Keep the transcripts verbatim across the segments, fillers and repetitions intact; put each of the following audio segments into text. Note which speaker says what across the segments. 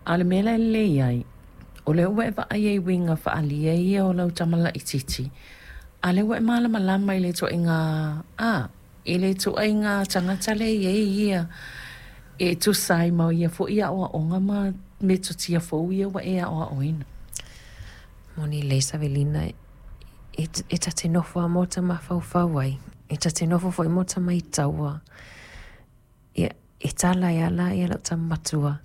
Speaker 1: A o le mea la e lelei ai, o lea ua e vaai ai i uiga faaalia ia o lau tama laitiiti, a o lea ua e malamalama i le ituaiga, a, i le ituaiga tagata lea e i ai ia e tusa ai ma ia foi aoaoga ma metotia fou ia ua e aoaoina.
Speaker 2: Moni lelei Savelina, e, e ta te nofo lava ma ota mafaufau ai, e ta te nofo foi ma ota maitaua. Ia, e tala ai lava la lau tama matua,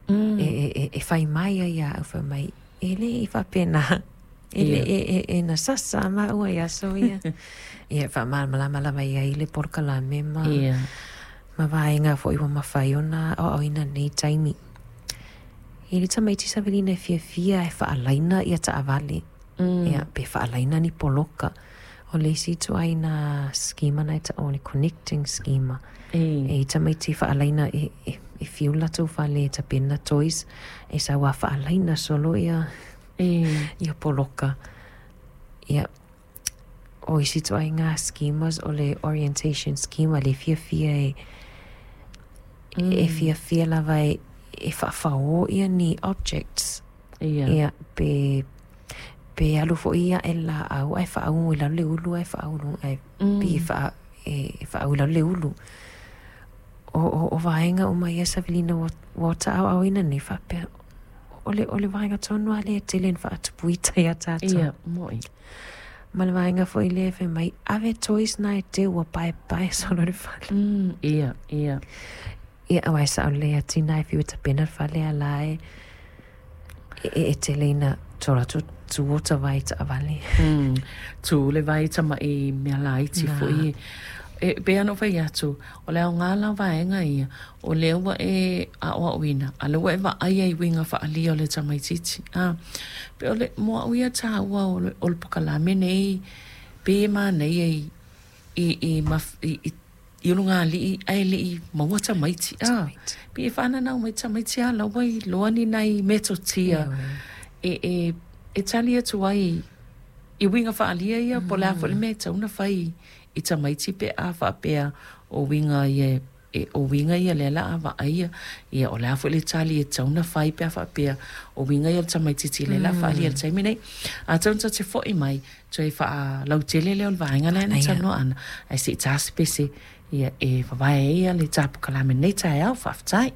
Speaker 1: Mm.
Speaker 2: e, e, e, e fai mai ai ia au, fai mai, e le i faapena. E le
Speaker 1: Ia.
Speaker 2: e, e, e na sasa maua i aso ia. Ia, faamalamalama lava i ai le polokalame ma,
Speaker 1: Ia.
Speaker 2: ma vaega foi ua mafai ona aoaoina i lenei taimi. I le tamaiti Savelina e fiafia e faalaina ia taavale.
Speaker 1: Mm.
Speaker 2: Ia, pe faalaina ni poloka. O le isi ituaiga schema na e taua o le connecting schema.
Speaker 1: E.
Speaker 2: E tamaiti faalaina e, e, e fiu latou fale e tapena toys. E sau a faalaina solo ia,
Speaker 1: E.
Speaker 2: ia poloka. Ia, o isi ituaiga schemas o le orientation schema le fiafia e,
Speaker 1: Mm.
Speaker 2: e fiafia lava e, e faafao ia ni objects.
Speaker 1: Ia.
Speaker 2: Ia, pe, pe alu foi ia e laau ae faaugu i lalo le ulu ae faau ae
Speaker 1: Mm.
Speaker 2: pe faa, e, e faau i lalo le ulu. O, o, o vaega uma ia Savelina ua, ua ota aoaoina nei faapea. O le, o le vaega tonu lava lea e tele ina faatupuita ia tatou.
Speaker 1: Ia, moi.
Speaker 2: Ma le vaega foi lea fai mai, ave toys na e teu ua paepae solo le fale.
Speaker 1: Mm, ia, ia.
Speaker 2: Ia, aua e sao lelei a tina e fiu e tapena le fale a la e, e, e tele ina tu latou tu ota vai taavale.
Speaker 1: Mm. Tu le vai tama'i mea laiti
Speaker 2: Na.
Speaker 1: foi. E pei ona ou fai atu, o le aoga la o vaega ia, o lea ua e aoaoina, a lea ua e vaai ai i uiga faaalia o le tamaitiiti. A, pe o le mo au ia taua o le, o le pokalame nei, pei e manaia i, i, i, maf, i, i i ulugalii ae le'i maua tamaiti a
Speaker 2: Tamaiti.
Speaker 1: pei e faananau mai tamaiti a la ua iloa ni nai metotia
Speaker 2: Ioe.
Speaker 1: e, e, e tali atu ai i uiga faaalia ia po o le a foi le mea e tatau ona fai i tamaiti pe a faapea o uiga ia e o uiga ia lea la a vaaia ia o le a foi le tali e tatau ona fai pe a faapea o uiga ia o le tamaitiiti lea la a faaalia i le taimi nei. Atonu ta te fo'i mai toe faalautele lea o le vaega lea na
Speaker 2: Ia.
Speaker 1: talanoa ana ae se'i ta se pese ia e vavae ai ia le tapukalame nei taeao faafetai.